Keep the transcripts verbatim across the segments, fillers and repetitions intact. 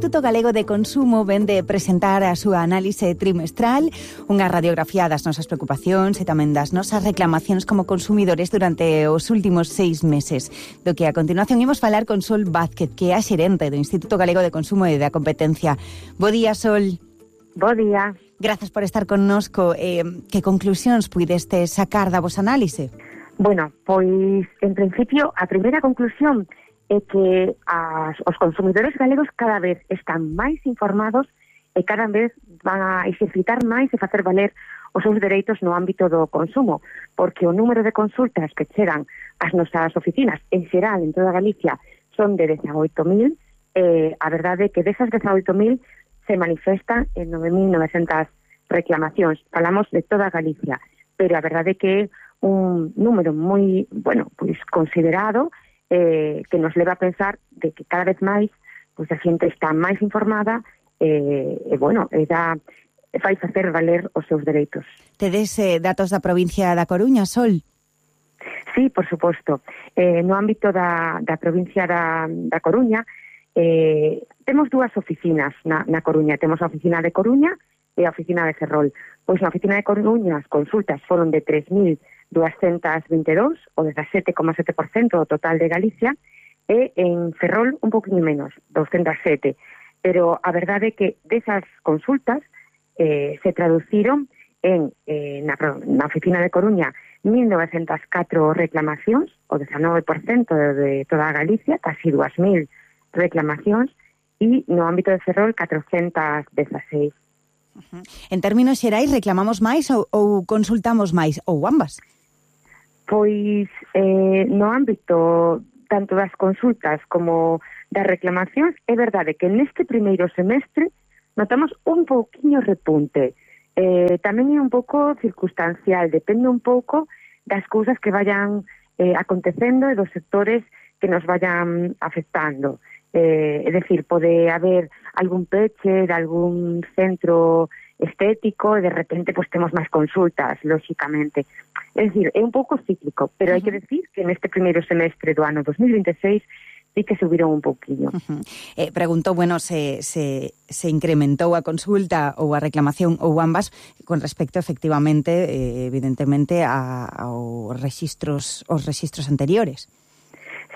Instituto Galego de Consumo ven de presentar a súa análise trimestral, unha radiografía das nosas preocupacións e tamén das nosas reclamacións como consumidores durante os últimos seis meses. Do que a continuación imos falar con Sol Vázquez, que é a xerente do Instituto Galego de Consumo e da Competencia. Bo día, Sol. Bo día. Grazas por estar connosco. Eh, que conclusións puideste sacar da vosa análise? Bueno, pois, en principio, a primeira conclusión é que as, os consumidores galegos cada vez están máis informados e cada vez van a exercitar máis e facer valer os seus dereitos no ámbito do consumo, porque o número de consultas que chegan ás nosas oficinas, en xeral, en toda Galicia, son de dezaoito mil, e a verdade é que desas dezaoito mil se manifestan en nove mil novecentas reclamacións. Falamos de toda Galicia, pero a verdade é que é un número moi, bueno, pois considerado, eh, que nos leva a pensar de que cada vez máis pois a xente está máis informada eh, e, bueno, e da, fai facer valer os seus dereitos. Tedes eh, datos da provincia da Coruña, Sol? Sí, por suposto. Eh, no ámbito da, da provincia da, da Coruña, eh, temos dúas oficinas na, na Coruña. Temos a oficina de Coruña e a oficina de Ferrol. Pois na oficina de Coruña as consultas foron de tres mil duascentas vinte e dous, o dezasete coma sete por cento do total de Galicia, e en Ferrol un poquinho menos, doscientas sete. Pero a verdade é que desas consultas eh, se traduciron en eh, na, na oficina de Coruña mil novecentas catro reclamacións, o dezanove por cento de toda a Galicia, casi dúas mil reclamacións, e no ámbito de Ferrol catrocentas dezaseis. Uh-huh. En términos xerais, reclamamos máis ou, ou consultamos máis, ou ambas? Pois eh, no ámbito tanto das consultas como das reclamacións, é verdade que neste primeiro semestre notamos un pouquiño repunte. Eh, tamén é un pouco circunstancial, depende un pouco das cousas que vayan eh, acontecendo e dos sectores que nos vayan afectando. Eh, é dicir, pode haber algún peche de algún centro estético e de repente pues temos máis consultas, lóxicamente. É dicir, é un pouco cíclico, pero uh-huh. hai que decir que neste primeiro semestre do ano dos mil veintiséis sí que subiron un pouquinho. Uh-huh. Eh, preguntou, bueno, se, se, se incrementou a consulta ou a reclamación ou ambas con respecto, efectivamente, eh, evidentemente, a, aos registros, os registros anteriores.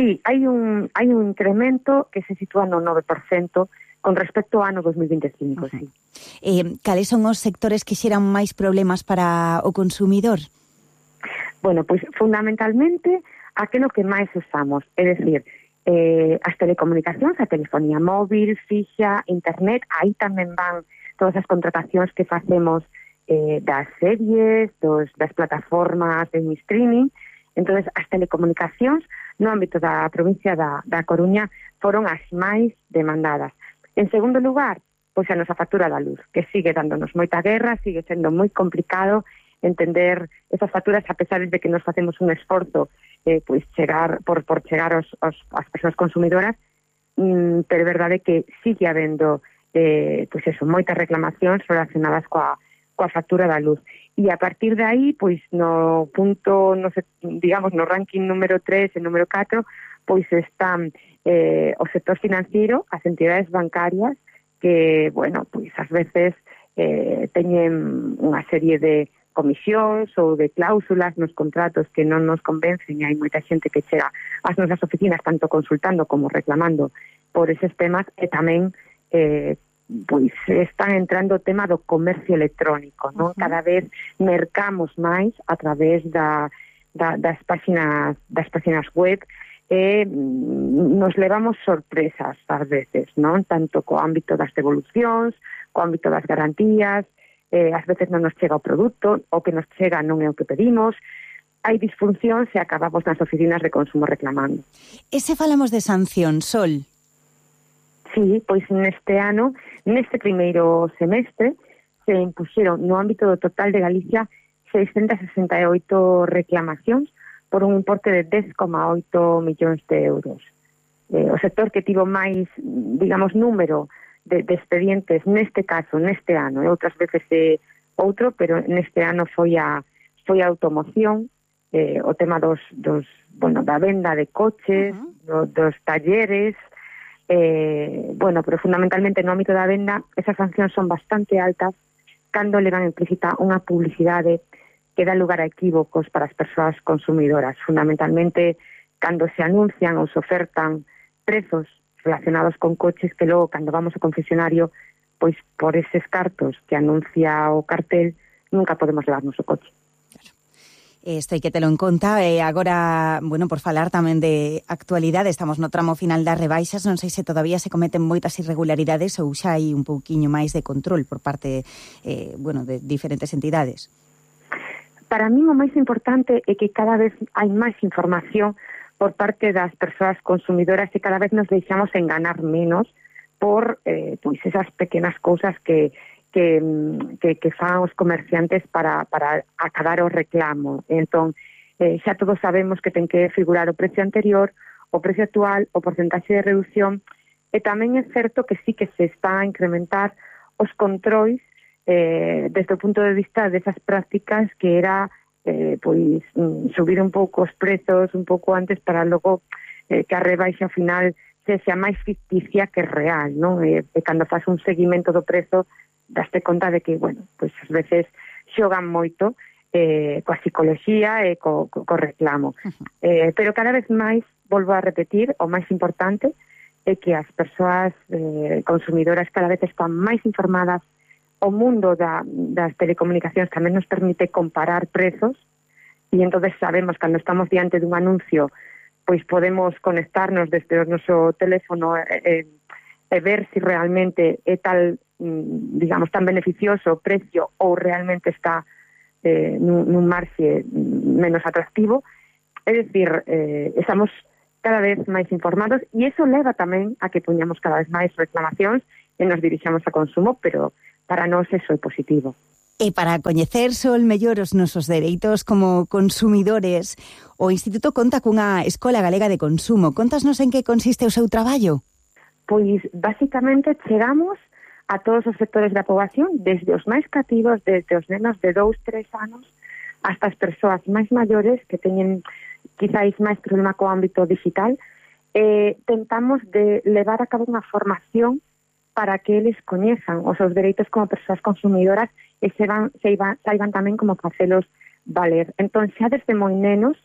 Sí, hai un, hai un incremento que se sitúa no nove por cento con respecto ao ano dos mil veinticinco, uh-huh. sí. Eh, cales son os sectores que xeran máis problemas para o consumidor? Bueno, pois fundamentalmente aquilo que máis usamos, é dicir, eh, as telecomunicacións, a telefonía móvil, fixa, internet, aí tamén van todas as contratacións que facemos eh, das series, dos, das plataformas de streaming. Entonces, as telecomunicacións no ámbito da provincia da, da Coruña foron as máis demandadas. En segundo lugar, pois a nosa factura da luz, que sigue dándonos moita guerra, sigue sendo moi complicado entender esas facturas, a pesar de que nos facemos un esforzo eh, pois chegar por, por chegar aos, aos, as persoas consumidoras, mm, pero é verdade que sigue habendo eh, pois eso, moitas reclamacións relacionadas coa, coa factura da luz. E a partir de aí, pois no punto, no sé, digamos, no ranking número tres e número catro, pois están eh, o sector financiero, as entidades bancarias, que, bueno, pois ás veces eh, teñen unha serie de comisións ou de cláusulas nos contratos que non nos convencen, e hai moita xente que chega ás nosas oficinas tanto consultando como reclamando por eses temas, e tamén eh, pois están entrando o tema do comercio electrónico, non? Uh-huh. Cada vez mercamos máis a través da, da, das páxinas das páxinas web e nos levamos sorpresas ás veces, non? Tanto co ámbito das devolucións, co ámbito das garantías, eh, ás veces non nos chega o produto, o que nos chega non é o que pedimos, hai disfuncións e acabamos nas oficinas de consumo reclamando. E se falamos de sanción, Sol? Sí, pois neste ano, neste primeiro semestre, se impuxeron no ámbito do total de Galicia seiscentas sesenta e oito reclamacións por un importe de dez coma oito millóns de euros. Eh, o sector que tivo máis, digamos, número de, de expedientes neste caso, neste ano, e outras veces é outro, pero neste ano foi a, foi a automoción, eh, o tema dos, dos, bueno, da venda de coches, uh-huh. do, dos talleres, eh, bueno, pero fundamentalmente no ámbito da venda, esas sancións son bastante altas cando levan implícita unha publicidade que dá lugar a equívocos para as persoas consumidoras, fundamentalmente cando se anuncian ou se ofertan prezos relacionados con coches que logo, cando vamos ao concesionario, pois por eses cartos que anuncia o cartel, nunca podemos levarnos o coche. Isto hai que telo en conta. E agora, bueno, por falar tamén de actualidade, estamos no tramo final das rebaixas, non sei se todavía se cometen moitas irregularidades ou xa hai un pouquiño máis de control por parte, eh, bueno, de diferentes entidades. Para mí o máis importante é que cada vez hai máis información por parte das persoas consumidoras e cada vez nos deixamos enganar menos por eh, pois esas pequenas cousas que que, que, que fan os comerciantes para, para acabar o reclamo. Entón, eh, xa todos sabemos que ten que figurar o precio anterior, o precio actual, o porcentaxe de reducción, e tamén é certo que sí que se está a incrementar os controis eh, desde o punto de vista desas prácticas que era eh, pois subir un pouco os prezos un pouco antes para logo eh, que a rebaixa ao final sexa máis ficticia que real, non? E, e cando faz un seguimento do prezo daste conta de que, bueno, pois ás veces xogan moito eh, coa psicoloxía e co, co, co reclamo. Uh-huh. Eh, pero cada vez máis, volvo a repetir, o máis importante é que as persoas eh, consumidoras cada vez están máis informadas. O mundo da, das telecomunicacións tamén nos permite comparar prezos e entonces sabemos cando estamos diante dun anuncio, pois podemos conectarnos desde o noso teléfono e, e ver se si realmente é tal, digamos, tan beneficioso o precio ou realmente está eh, nun, nun marxe menos atractivo. É dicir, eh, estamos cada vez máis informados e iso leva tamén a que poñamos cada vez máis reclamacións e nos dirixamos a consumo, pero para nós eso é positivo. E para coñecer sol mellor os nosos dereitos como consumidores, o Instituto conta cunha Escola Galega de Consumo. Contasnos en que consiste o seu traballo? Pois, basicamente, chegamos a todos os sectores da poboación, desde os máis cativos, desde os nenos de dous, tres anos, hasta as persoas máis maiores que teñen quizáis máis problema co ámbito digital. Eh, tentamos de levar a cabo unha formación para que eles coñezan os seus dereitos como persoas consumidoras e se van, se iban, saiban tamén como facelos valer. Entón, xa desde moi nenos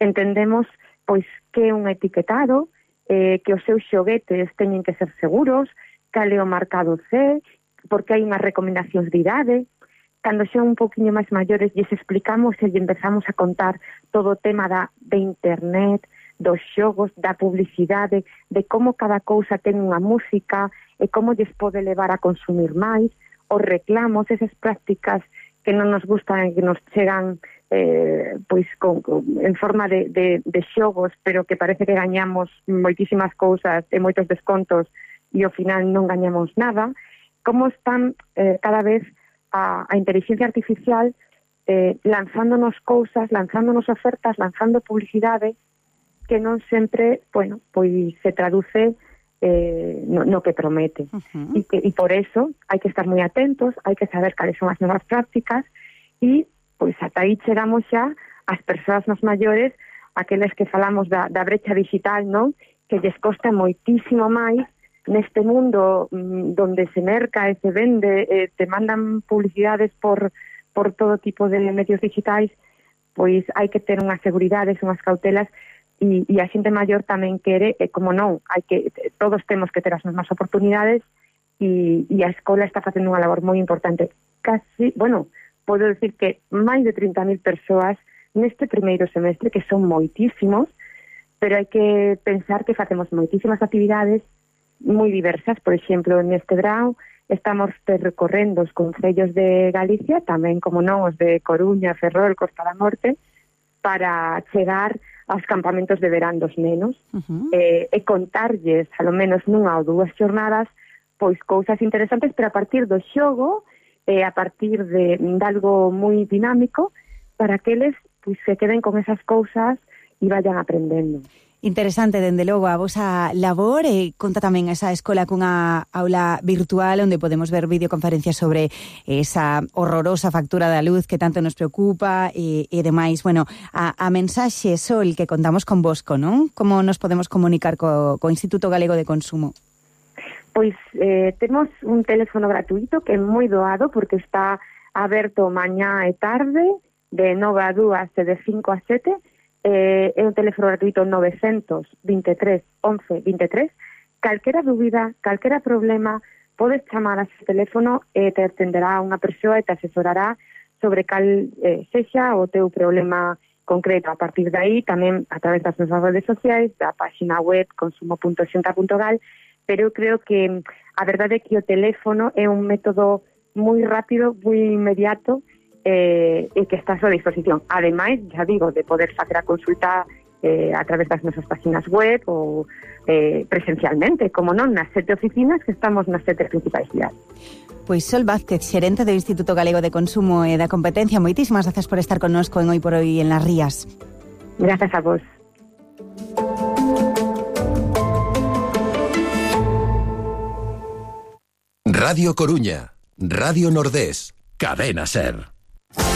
entendemos pois que é un etiquetado, eh, que os seus xoguetes teñen que ser seguros, cal é o marcado C, porque hai unhas recomendacións de idade. Cando xa un poquinho máis maiores lles explicamos e lles empezamos a contar todo o tema da, de internet, dos xogos, da publicidade, de como cada cousa ten unha música e como lles pode levar a consumir máis, os reclamos, esas prácticas que non nos gustan e que nos chegan eh, pois con, con, en forma de, de, de xogos, pero que parece que gañamos moitísimas cousas e moitos descontos e ao final non gañamos nada. Como están eh, cada vez a, a inteligencia artificial eh, lanzándonos cousas, lanzándonos ofertas, lanzando publicidade que non sempre, bueno, pois se traduce eh, no, no que promete. Uh-huh. E, que, e por eso hai que estar moi atentos, hai que saber cales son as novas prácticas e, pois, ata aí chegamos xa as persoas nos maiores, aqueles que falamos da, da brecha digital, non? Que lles costa moitísimo máis neste mundo mmm, donde se merca e se vende, eh, te mandan publicidades por, por todo tipo de medios digitais, pois hai que ter unhas seguridades, unhas cautelas. E, e a xente maior tamén quere, e como non, hai que todos temos que ter as mesmas oportunidades e, e a escola está facendo unha labor moi importante. Casi, bueno, podo decir que máis de trinta mil persoas neste primeiro semestre, que son moitísimos, pero hai que pensar que facemos moitísimas actividades moi diversas. Por exemplo, neste verão estamos percorrendo os concellos de Galicia, tamén como non os de Coruña, Ferrol, Costa da Morte, para chegar aos campamentos de verán dos nenos. Uh-huh. eh, e contarlles, alo menos nunha ou dúas xornadas, pois cousas interesantes, pero a partir do xogo, eh, a partir de, de algo moi dinámico, para que eles pois, se queden con esas cousas e vayan aprendendo. Interesante, dende logo, a vosa labor, e conta tamén esa escola cunha aula virtual onde podemos ver videoconferencias sobre esa horrorosa factura da luz que tanto nos preocupa e, e demais. Bueno, a, a mensaxe, Sol, que contamos con Bosco, non? Como nos podemos comunicar co, co Instituto Galego de Consumo? Pois eh, temos un teléfono gratuito que é moi doado porque está aberto mañá e tarde de nove a dúas e de cinco a sete. Eh, é un teléfono gratuito novecientos veintitrés once veintitrés. Calquera dúbida, calquera problema, podes chamar a ese teléfono e te atenderá unha persoa e te asesorará sobre cal eh, sexa o teu problema concreto. A partir de aí, tamén a través das nosas redes sociais, da página web consumo punto xenta punto gal, pero eu creo que a verdade é que o teléfono é un método moi rápido, moi inmediato, eh, e que está a súa disposición. Ademais, já digo, de poder facer a consulta eh, a través das nosas páginas web ou eh, presencialmente, como non, nas sete oficinas que estamos nas sete principais cidades. Pois Sol Vázquez, xerente do Instituto Galego de Consumo e da Competencia, moitísimas gracias por estar connosco en Hoy por Hoy en Las Rías. Grazas a vos. Radio Coruña, Radio Nordés, Cadena Ser.